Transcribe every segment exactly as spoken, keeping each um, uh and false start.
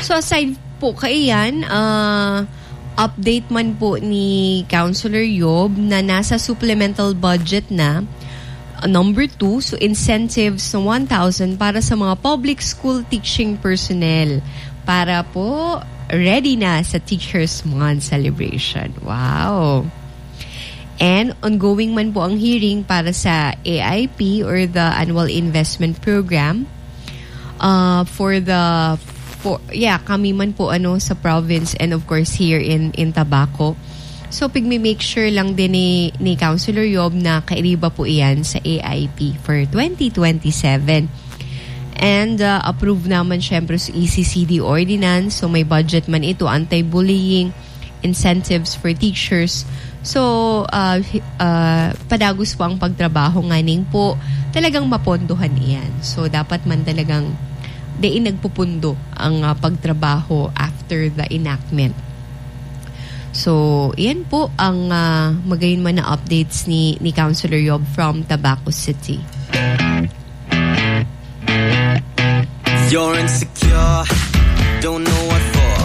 So, aside po kaiyan, ah, update man po ni Councilor Yob na nasa supplemental budget na, ah, number two, so incentives na one thousand para sa mga public school teaching personnel para po ready na sa Teachers Month celebration. Wow! And ongoing man po ang hearing para sa A I P or the Annual Investment Program. Uh, for the, for, yeah, kami man po, ano, sa province and of course here in, in Tabaco. So, pigmi-make sure lang din ni, ni Councilor Yob na kairiba po iyan sa A I P for twenty twenty-seven. And, uh, approve naman syempre sa E C C D ordinance. So, may budget man ito, anti-bullying, incentives for teachers. So, uh, hi- uh, padagos po ang pagtrabaho nganing po talagang mapondohan iyan. So, dapat man talagang diin nagpupundo ang, uh, pagtrabaho after the enactment. So, iyan po ang, uh, magayon man na updates ni, ni Councilor Yob from Tabaco City. You're insecure, don't know what for.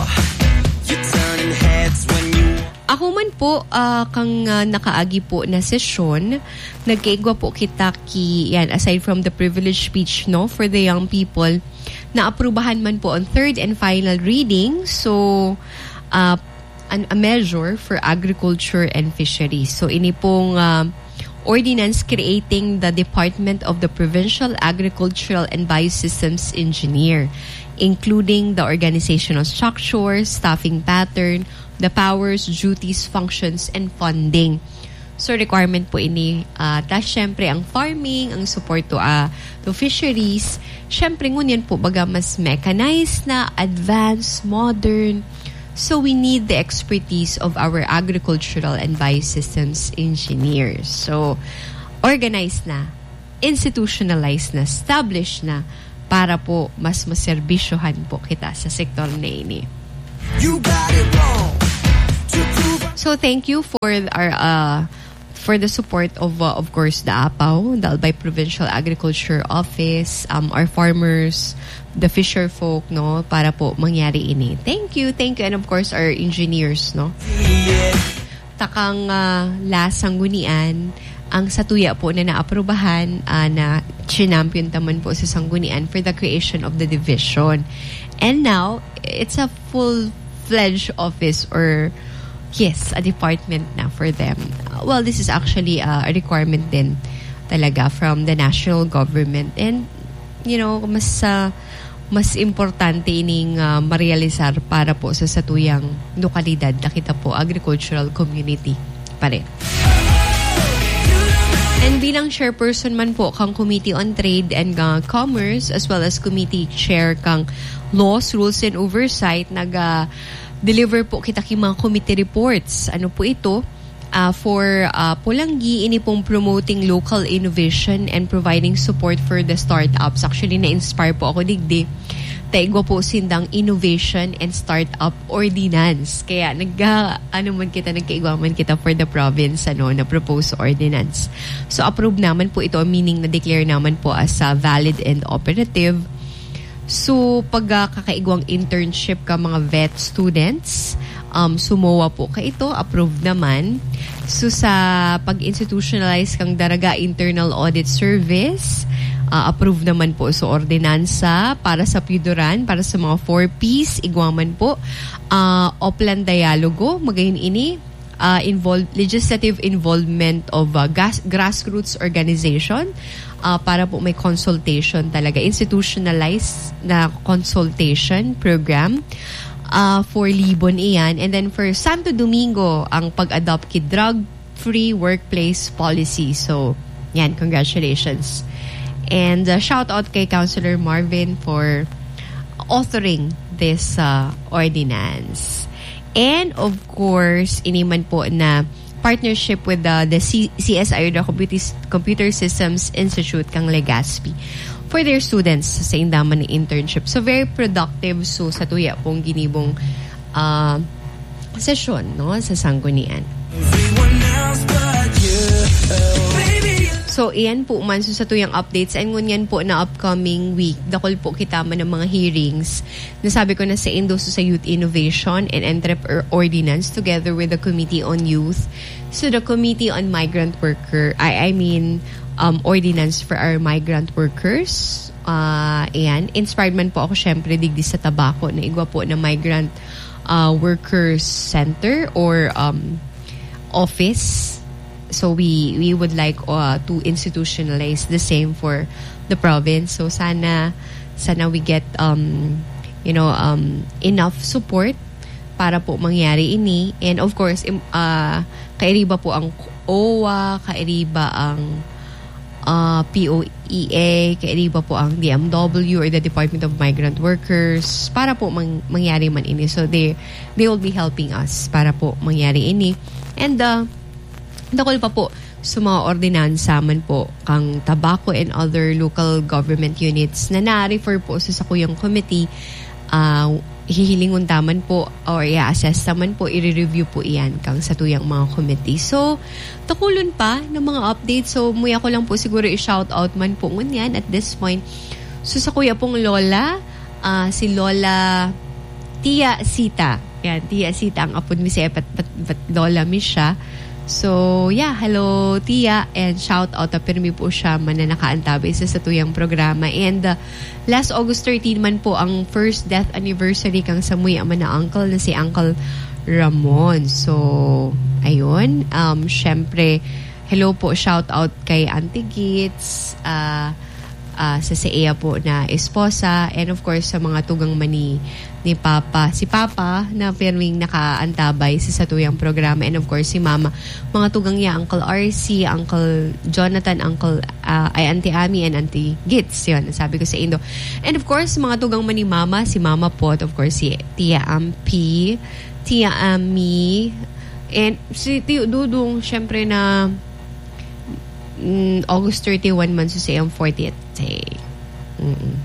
You're turning heads when you Ako man po, ah, kang, ah, nakaagi po na sesyon, nagkaigwa po kita ki, yan, aside from the privilege speech, no, for the young people, naaprubahan man po ang third and final reading. So, ah, an, a measure for agriculture and fisheries. So, ini pong, ah, ordinance creating the Department of the Provincial Agricultural and Biosystems Engineer, including the organizational structure, staffing pattern, the powers, duties, functions, and funding. So, requirement po ini. Ah, tas, syempre, ang farming, ang support to, ah, to fisheries. Syempre, ngunyan po, baga mas mechanized na, advanced, modern. So, we need the expertise of our agricultural and biosystems engineers. So, organized na, institutionalized na, established na, para po mas maserbisyohan po kita sa sektor na ini. You got it wrong. To prove So, thank you for our, uh, for the support of, uh, of course, the APAO, the Albay Provincial Agriculture Office, um, our farmers, the fisher folk, no, para po mangyari ini. Thank you, thank you, and of course, our engineers, no. Takang, ah, La Sanggunian, ang satuya po na naaprubahan, ah, na chinampion ta man po sa Sanggunian for the creation of the division. And now, it's a full-fledged office or, yes, a department na for them. Well, this is actually, ah, a requirement din talaga from the national government. And, you know, mas, ah, mas importante ining, ah, marealisar para po sa satuyang lokalidad na kita po, agricultural community pa rin. And bilang chairperson man po kang Committee on Trade and, ah, Commerce, as well as Committee Chair kang Laws, Rules, and Oversight, nag, ah, deliver po kita ki mga committee reports. Ano po ito? Ah, for, ah, Polangui, ini pong promoting local innovation and providing support for the startups. Actually, na-inspire po ako digdi. Ta igwa po sindang innovation and startup ordinance. Kaya nag, ah, ano man kita, nagkaigwa man kita for the province, ano, na proposed ordinance. So, approve naman po ito, meaning na-declare naman po as, ah, valid and operative. So, pag, ah, kakaigwang internship ka, mga vet students, um, sumowa po ka ito, approved naman. So, sa pag-institutionalize kang Daraga Internal Audit Service, ah, approved naman po. So, ordinansa para sa Piyuduran, para sa mga four Ps, igwa man po. Ah, Oplan Dialogo, magayon ini, ah, involve-, legislative involvement of, ah, gas-, grassroots organization, ah, para po may consultation talaga, institutionalized na consultation program, ah, for Libon iyan. And then for Santo Domingo, ang pag-adopt ki drug-free workplace policy. So, yan, congratulations. And, ah, shout out kay Councilor Marvin for authoring this, ah, ordinance. And of course, ini man po na partnership with the, the C-, C S I, the Computis-, Computer Systems Institute kang Legazpi for their students sa indaman na internship. So, very productive. So, satuya pong ginibong, ah, sesyon, no, sa Sanggunian. Everyone else but you. Baby, So, iyan po man. So, sa tuyang updates, and ngunyan po na upcoming week, dakul po kita man ng mga hearings. Nasabi ko na sa Indo sa Youth Innovation and Entrepreneur Ordinance together with the Committee on Youth. So, the Committee on Migrant Worker, I, I mean, um, Ordinance for our Migrant Workers. Ah, ayan. Inspired man po ako, syempre, digdi sa Tabaco na igwa po na Migrant, ah, Workers Center or, um, office. So we we would like, uh, to institutionalize the same for the province. So sana sana we get, um you know um enough support para po mangyari ini. And of course, im- uh, kairiba po ang owa, kairiba ang, uh, P O E A, kairiba po ang D M W or the Department of Migrant Workers para po mang- mangyari man ini. So they they will be helping us para po mangyari ini. And, uh, dakul pa po sa mga ordinansa man po kang Tabaco and other local government units na na-refer po sa sakuyang committee, ah, hihilingon ta man po or i-assess ta man po, i-review po iyan kang satuyang mga committee. So, takulon pa ng mga updates. So, muya ko lang po siguro i-shout out man po ngunyan at this point. So, sa kuya pong Lola, ah, si Lola Tia Sita. Yan, Tia Sita ang apod mi siya, but, but, but Lola mi siya. So, yeah, hello, Tia, and shout out, ah, pirmi po siya man na nakaantabay sa satuyang programa. And, ah, last August thirteen man po ang first death anniversary kang samuya man na uncle na si Uncle Ramon. So, ayun, um, syempre, hello po, shout out kay Auntie Gits, ah, ah, sa, sa iya po na esposa, and of course, sa mga tugang man ni, ni Papa. Si Papa na pirming nakaantabay sa satuyang programa, and of course, si Mama. Mga tugang niya, Uncle R C, Uncle Jonathan, Uncle, ah, ay, Auntie Ami, and Auntie Gits, yun, sabi ko sa Indo. And of course, mga tugang man ni Mama, si Mama po, of course, si Tia Ampi, Tia Ami, and si Tio Dudong, syempre na, mm, August thirty-one man so sa iyang fortieth day. Mm-mm.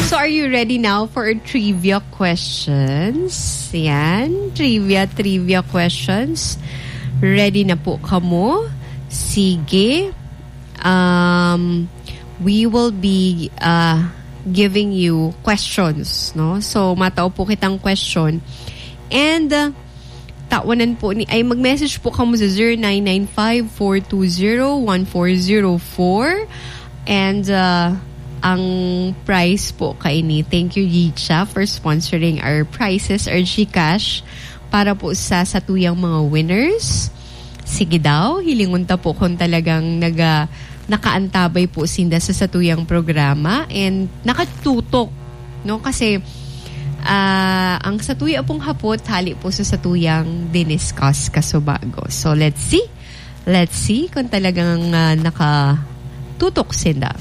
So, are you ready now for our trivia questions? Yan. Trivia, trivia questions. Ready na po kamo? Sige. Um, we will be, uh, giving you questions, no? So, matao po kitang question. And, uh, tawanan po ni, ay, mag-message po kamo sa zero nine nine five, four two zero, one four zero four. And, uh, ang prize po kaini, thank you, Yicha, for sponsoring our prizes or GCash para po sa satuyang mga winners. Sige daw, hilingon ta po kung talagang naga-, nakaantabay po sinda sa satuyang programa and nakatutok, no? Kasi, ah, ang satuya pong hapot, hali po sa satuyang diniscuss kasubago. So, let's see. Let's see kung talagang, ah, nakatutok sinda.